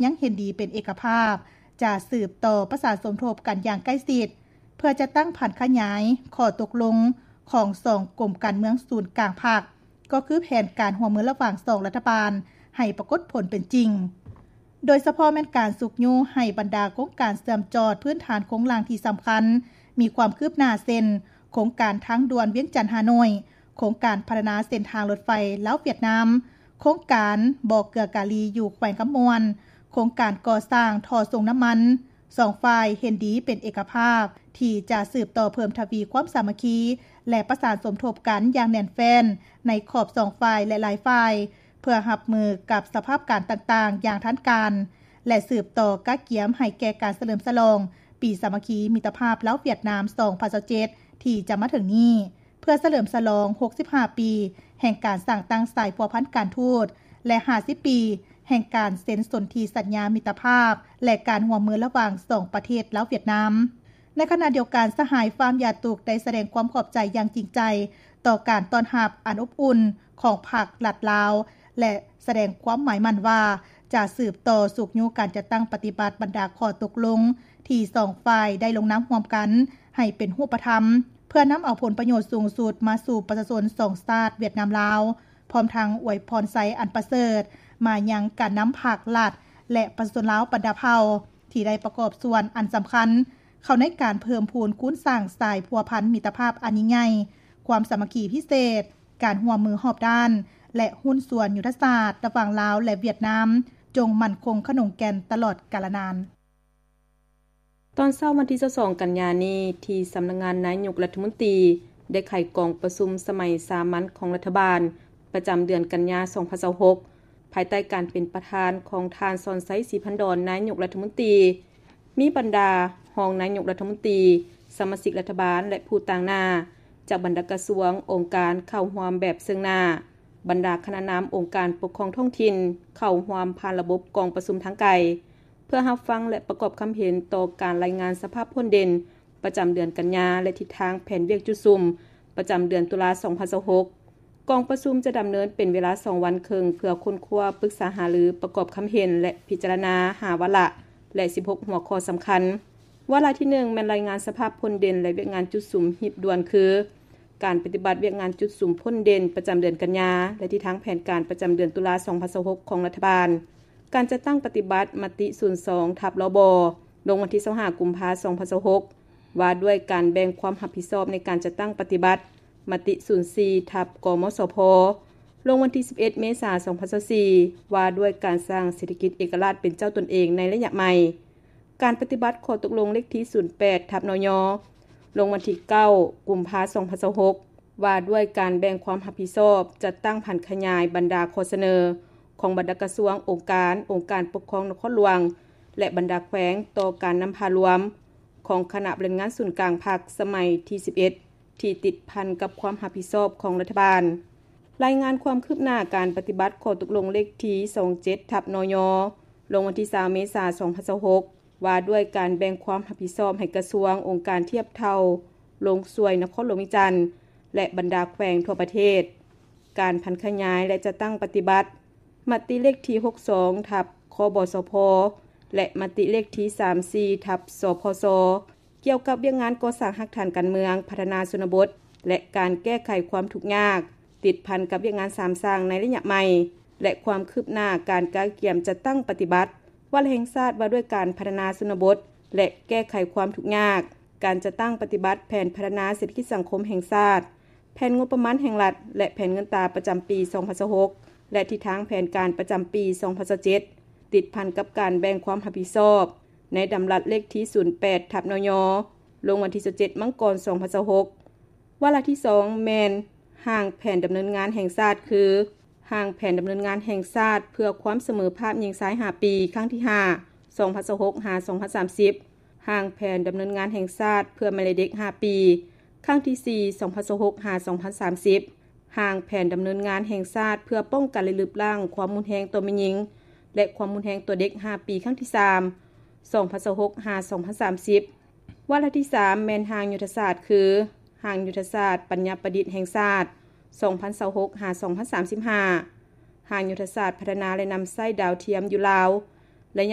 ຍັງເຫັນດີເປັນເອກະພາບ ຈະສືບຕໍ່ປະສານສົມທົບກັນຢ່າງໃກ້ຊິດ ເພື່ອຈັດຕັ້ງຜັນຂະຫຍາຍຂໍ້ຕົກລົງຂອງສອງກົມການເມືອງສູນກາງພັກ ກໍຄືແຜນການຮ່ວມມືລະຫວ່າງສອງລັດຖະບານໃຫ້ປາກົດຜົນເປັນຈິງ, ໂດຍສະເພາະແມ່ນການຊຸກຍູ້ໃຫ້ບັນດາໂຄງການເຊື່ອມຈອດພື້ນຖານໂຄງລ່າງທີ່ສຳຄັນ ມີຄວາມຄືບໜ້າເຊັ່ນ ໂຄງການທາງດ່ວນວຽງຈັນ-ຮ່າໂນ້ຍ, ໂຄງການພັດທະນາເສັ້ນທາງລົດໄຟລາວ-ຫວຽດນາມ, ໂຄງການບໍ່ເກືອກາລີຢູ່ແຂວງຄຳມ່ວນ, ໂຄງການກໍ່ສ້າງທໍ່ສົ່ງນ້ຳມັນ. ສອງຝ່າຍເຫັນດີເປັນເອກະພາບ ທີ່ຈະສືບຕໍ່ເພີ່ມທະວີຄວາມສາມັກຄີ ແລະ ປະສານສົມທົບກັນຢ່າງແໜ້ນແຟ້ນໃນຂອບສອງຝ່າຍ ແລະ ຫຼາຍຝ່າຍ ເພື່ອຮັບມືກັບສະພາບການຕ່າງໆຢ່າງທັນການ ແລະ ສືບຕໍ່ກະກຽມໃຫ້ແກ່ການສະເຫຼີມສະຫຼອງປີສາມັກຄີມິດຕະພາບລາວ-ຫວຽດນາມ ສອງພັນຊາວເຈັດ ທີ່ຈະມາເຖິງນີ້. ເພື່ອສະເຫຼີມສະຫຼອງຫົກສິບຫ້າປີແຫ່ງການສ້າງຕັ້ງສາຍພົວພັນການທູດ ແລະ ຫ້າສິບປີແຫ່ງການເຊັນສົນທິສັນຍາມິດຕະພາບ ແລະ ການຮ່ວມມືລະຫວ່າງສອງປະເທດລາວ-ຫວຽດນາມ. ໃນຂະນະດຽວກັນ, ສະຫາຍ ຟາມ ຢາຕຸກ ໄດ້ສະແດງຄວາມຂອບໃຈຢ່າງຈິງໃຈຕໍ່ການຕ້ອນຮັບອັນອົບອຸ່ນຂອງພັກລັດລາວ ແລະ ສະແດງຄວາມໝາຍໝັ້ນວ່າ ຈະສືບຕໍ່ຊຸກຍູ້ການຈັດຕັ້ງປະຕິບັດບັນດາຂໍ້ຕົກລົງທີ່ສອງຝ່າຍໄດ້ລົງນາມຮ່ວມກັນໃຫ້ເປັນຮູບປະທຳ ເພື່ອນຳເອົາຜົນປະໂຫຍດສູງສຸດມາສູ່ປະຊາຊົນສອງຊາດຫວຽດນາມ-ລາວ, ພ້ອມທັງອວຍພອນໄຊອັນປະເສີດມາຍັງການນຳພັກລັດ ແລະ ປະຊາຊົນລາວບັນດາເຜົ່າ ທີ່ໄດ້ປະກອບສ່ວນອັນສຳຄັນເຂົ້າໃນການເພີ່ມພູນຄູນສ້າງສາຍພົວພັນມິດຕະພາບອັນຍິ່ງໃຫຍ່, ຄວາມສາມັກຄີພິເສດ, ການຮ່ວມມືຮອບດ້ານ ແລະ ຫຸ້ນສ່ວນຍຸດທະສາດລະຫວ່າງລາວ ແລະ ຫວຽດນາມ ຈົ່ງໝັ້ນຄົງຂະໜົງແກ່ນຕະຫຼອດການລະນານ. ຕອນເຊົ້າວັນທີຊາວສອງ ກັນຍານີ້, ທີ່ສຳນັກງານນາຍົກລັດຖະມົນຕີ ໄດ້ໄຂກອງປະຊຸມສະໄໝສາມັນຂອງລັດຖະບານ ປະຈຳເດືອນກັນຍາ ສອງພັນຊາວຫົກ ພາຍໃຕ້ການເປັນປະທານຂອງທ່ານ ສອນໄຊ ສີພັນດອນ ນາຍົກລັດຖະມົນຕີ, ມີບັນດາຮອງນາຍົກລັດຖະມົນຕີ, ສະມາຊິກລັດຖະບານ ແລະ ຜູ້ຕາງໜ້າຈາກບັນດາກະຊວງ, ອົງການເຂົ້າຮ່ວມແບບເຊິ່ງໜ້າ, ບັນດາຄະນະນຳອົງການປົກຄອງທ້ອງຖິ່ນເຂົ້າຮ່ວມຜ່ານລະບົບກອງປະຊຸມທາງໄກ ເພື່ອຮັບຟັງ ແລະ ປະກອບຄຳເຫັນຕໍ່ການລາຍງານສະພາບພົ້ນເດັ່ນປະຈຳເດືອນກັນຍາ ແລະ ທິດທາງແຜນວຽກຈຸດສຸມປະຈຳເດືອນຕຸລາ ສອງພັນຊາວຫົກ. ກອງປະຊຸມຈະດຳເນີນເປັນເວລາສອງວັນເຄິ່ງ ເພື່ອຄົ້ນຄວ້າ, ປຶກສາຫາລື, ປະກອບຄຳເຫັນ ແລະ ພິຈາລະນາຫ້າວາລະ ແລະ ສິບຫົກຫົວຂໍ້ສຳຄັນ. ວາລະທີໜຶ່ງ ແມ່ນລາຍງານສະພາບພົ້ນເດັ່ນ ແລະ ວຽກງານຈຸດສຸມຮີບດ່ວນ ຄື ການປະຕິບັດວຽກງານຈຸດສຸມພົ້ນເດັ່ນປະຈຳເດືອນກັນຍາ ແລະ ທິດທາງແຜນການປະຈຳເດືອນຕຸລາ ສອງພັນຊາວຫົກ ຂອງລັດຖະບານ, ການຈັດຕັ້ງປະຕິບັດມະຕິສູນສອງ ທັບ ລບ ລົງວັນທີຊາວຫ້າ ກຸມພາ ສອງພັນຊາວຫົກ ວ່າດ້ວຍການແບ່ງຄວາມຮັບຜິດຊອບໃນການຈັດຕັ້ງປະຕິບັດມະຕິສູນສີ່ ທັບ ກມສພ ລົງວັນທີສິບເອັດ ເມສາ ສອງພັນຊາວສີ່ ວ່າດ້ວຍການສ້າງເສດຖະກິດເອກະລາດເປັນເຈົ້າຕົນເອງໃນໄລຍະໃໝ່. ການປະຕິບັດຂໍ້ຕົກລົງເລກທີສູນແປດ ທັບ ນຍ ລົງວັນທີເກົ້າ ກຸມພາ ສອງພັນຊາວຫົກ ວ່າດ້ວຍການແບ່ງຄວາມຮັບຜິດຊອບ ຈັດຕັ້ງຜັນຂະຫຍາຍບັນດາຂໍ້ສະເໜີຂອງບັນດາກະຊວງ, ອົງການ, ອົງການປົກຄອງນະຄອນຫຼວງ ແລະ ບັນດາແຂວງ ຕໍ່ການນຳພາລວມຂອງຄະນະບໍລິຫານງານສູນກາງພັກສະໄໝທີສິບເອັດ ທີ່ຕິດພັນກັບຄວາມຮັບຜິດຊອບຂອງລັດຖະບານ. ລາຍງານຄວາມຄືບໜ້າການປະຕິບັດຂໍ້ຕົກລົງເລກທີຊາວເຈັດ ທັບ ນຍ ລົງວັນທີຊາວ ເມສາ ສອງພັນຊາວຫົກ ວ່າດ້ວຍການແບ່ງຄວາມຮັບຜິດຊອບໃຫ້ກະຊວງ, ອົງການທຽບເທົ່າລົງຊ່ວຍນະຄອນຫຼວງວຽງຈັນ ແລະ ບັນດາແຂວງທົ່ວປະເທດ. ການຜັນຂະຫຍາຍ ແລະ ຈັດຕັ້ງປະຕິບັດມະຕິເລກທີຫົກສອງ ທັບ ຄບສພ ແລະ ມະຕິເລກທີສາມສີ່ ທັບ ສພສ ກ່ຽວກັບວຽກງານກໍ່ສ້າງຮາກຖານການເມືອງ, ພັດທະນາຊົນນະບົດ ແລະ ການແກ້ໄຂຄວາມທຸກຍາກ ຕິດພັນກັບວຽກງານສາມສ້າງໃນໄລຍະໃໝ່ ແລະ ຄວາມຄືບໜ້າການກະກຽມຈັດຕັ້ງປະຕິບັດ. ວາລະແຫ່ງຊາດວ່າດ້ວຍການພັດທະນາຊົນນະບົດ ແລະ ແກ້ໄຂຄວາມທຸກຍາກ, ການຈັດຕັ້ງປະຕິບັດແຜນພັດທະນາເສດຖະກິດສັງຄົມແຫ່ງຊາດ, ແຜນງົບປະມານແຫ່ງລັດ ແລະ ແຜນເງິນຕາປະຈຳປີສອງພັນຊາວຫົກ ແລະ ທິດທາງແຜນການປະຈຳປີສອງພັນຊາວເຈັດ ຕິດພັນກັບການແບ່ງຄວາມຮັບຜິດຊອບໃນດຳລັດເລກທີສູນແປດ ທັບ ນຍ ລົງວັນທີຊາວເຈັດ ມັງກອນ ສອງພັນຊາວຫົກ. ວາລະທີສອງ ແມ່ນຮ່າງແຜນດຳເນີນງານແຫ່ງຊາດ ຄື ຮ່າງແຜນດຳເນີນງານແຫ່ງຊາດເພື່ອຄວາມສະເໝີພາບຍິງຊາຍຫ້າປີ ຄັ້ງທີຫ້າ ສອງພັນຊາວຫົກ ຫາ ສອງພັນສາມສິບ, ຮ່າງແຜນດຳເນີນງານແຫ່ງຊາດເພື່ອແມ່ ແລະ ເດັກຫ້າປີ ຄັ້ງທີສີ່ ສອງພັນຊາວຫົກ ຫາ ສອງພັນສາມສິບ, ຮ່າງແຜນດຳເນີນງານແຫ່ງຊາດເພື່ອປ້ອງກັນ ແລະ ລຶບລ້າງຄວາມຮຸນແຮງຕໍ່ແມ່ຍິງ ແລະ ຄວາມຮຸນແຮງຕໍ່ເດັກຫ້າປີ ຄັ້ງທີສາມ ສອງພັນຊາວຫົກ ຫາ ສອງພັນສາມສິບ. ວາລະທີສາມ ແມ່ນຮ່າງຍຸດທະສາດ ຄື ຮ່າງຍຸດທະສາດປັນຍາປະດິດແຫ່ງຊາດ ສອງພັນຊາວຫົກ ຫາ ສອງພັນສາມສິບຫ້າ, ຮ່າງຍຸດທະສາດພັດທະນາ ແລະ ນຳໃຊ້ດາວທຽມຢູ່ລາວ ໄລຍະ